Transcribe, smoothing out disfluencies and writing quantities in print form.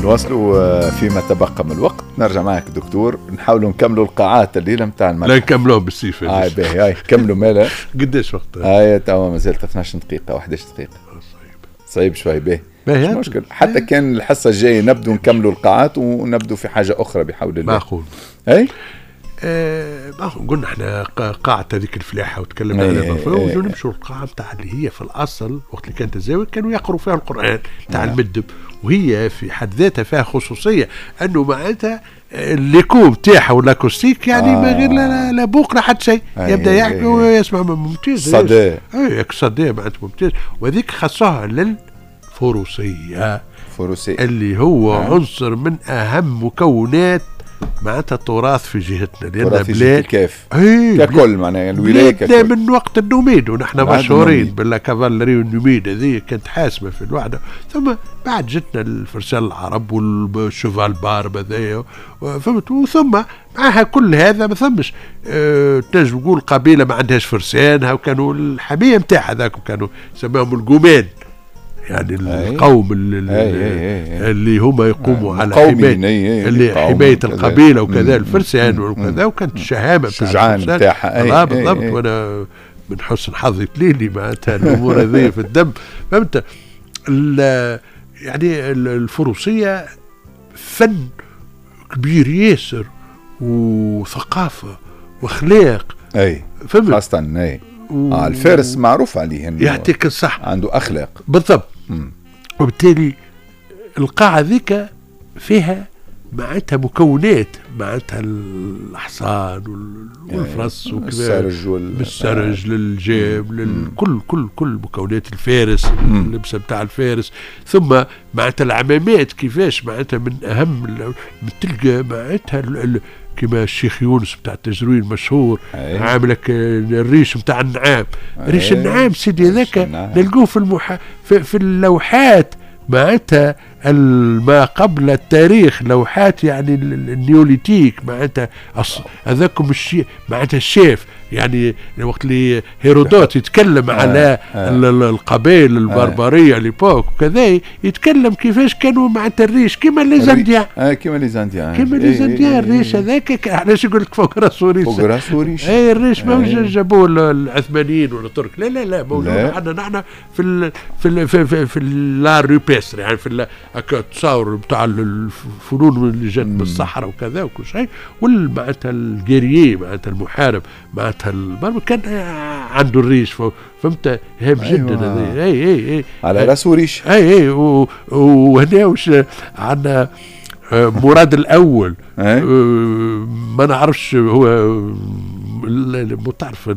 نواصلوا فيما تبقى من الوقت. نرجع معك دكتور، نحاولوا نكملوا القاعات الليلة نتاع لا. المتحف. نكملوهم بالسيف. باهي، هاي كملوا مالا. قداش وقت؟ هاي توا مازالت 12 دقيقه، 11 دقيقه. صعيب. صعيب شوي، باهي. باهي. مش مشكل، حتى كان الحصة الجاية نبدو نكملوا القاعات ونبدو في حاجة اخرى بحول الله. معقول. اي. ما هو قلنا احنا قاعة هذيك الفلاحة وتكلمنا عليها، ونمشوا القاعة نتاع اللي هي في الأصل وقت اللي كانت الزاوية كانوا يقروا فيها القرآن نتاع المدب، وهي في حد ذاتها فيها خصوصية أنه معناتها l'écho نتاعها وال acoustique يعني ما غير لا بوق لا حتى شيء، يبدا يحكي ويسمع، ممتاز. صدى. اي صدى معناتها ممتاز، وهذيك خصها للفروسية. فروسية. اللي هو عنصر من اهم مكونات معناتها التراث في جهتنا، لان تراث في جهة بلاد الكاف اي ككل، معناها الولاية بلادنا ككل. من وقت النوميد ونحن بعد مشهورين النوميد. بال cavalerie numide، هذه كانت حاسمة في الوحده. ثم بعد جتنا الفرسان العرب وال cheval barbe هذايا، فهمت؟ وثم معها كل هذا ما ثمش تنجم تقول قبيلة ما عندهاش فرسانها، وكانوا الحمية نتاعها ذاك كانوا يسموهم القومان، يعني القوم اللي, أي أي أي. اللي هما يقوموا على مقاومين، حماية اللي يقاوموا حماية كذا. القبيلة وكذا، الفرسان وكذا، وكانت الشهامه بتاع الشجعان الفرسان. بتاعها. بالضبط. وانا من حسن حظي تليلي معناتها الامور هذه في الدم، فهمت؟ يعني الفروسية فن كبير ياسر وثقافة واخلاق. فهمت؟ خاصة اي الفارس معروف عليه انه يعطيك الصحه. عنده اخلاق. بالضبط. وبالتالي القاعة ذيك فيها معناتها مكونات، معناتها الحصان والفرس وكذا. السرج بالسرج للجام للكل، كل مكونات الفارس، اللبسه بتاع الفارس، ثم معناتها العمامات كيفاش معناتها من اهم تلقى معناتها كما الشيخ يونس بتاع التجروين المشهور عامل لك الريش بتاع النعام، ريش النعام سيدي هذاك نلقوه في اللوحات معناتها ما قبل التاريخ، لوحات يعني ال néolithique، معناتها هذاكم الشيء معناتها الشيف، يعني وقت اللي هيرودوت يتكلم على القبائل البربريه l'époque وكذا، يتكلم كيفاش كانوا معناتها الريش كيما les Indiens. كيما les Indiens. كيما les Indiens، الريش هذاك علاش يقول لك فوق راسه ريش؟ فوق راسه ريش. اي، الريش ما جابوه العثمانيين ولا الترك، لا لا لا، موجود عندنا نحن في l'art rupestre، يعني في التصاور بتاع الفنون اللي جات من الصحراء وكذا وكل شيء. معناتها ال guerrier، معناتها المحارب، معناتها البربر كان عنده الريش، فهمت؟ هام جدا هذا. اي. على راسه ريش. اي، وهنا وش عندنا؟ مراد الاول، ما نعرفش هو تعرف.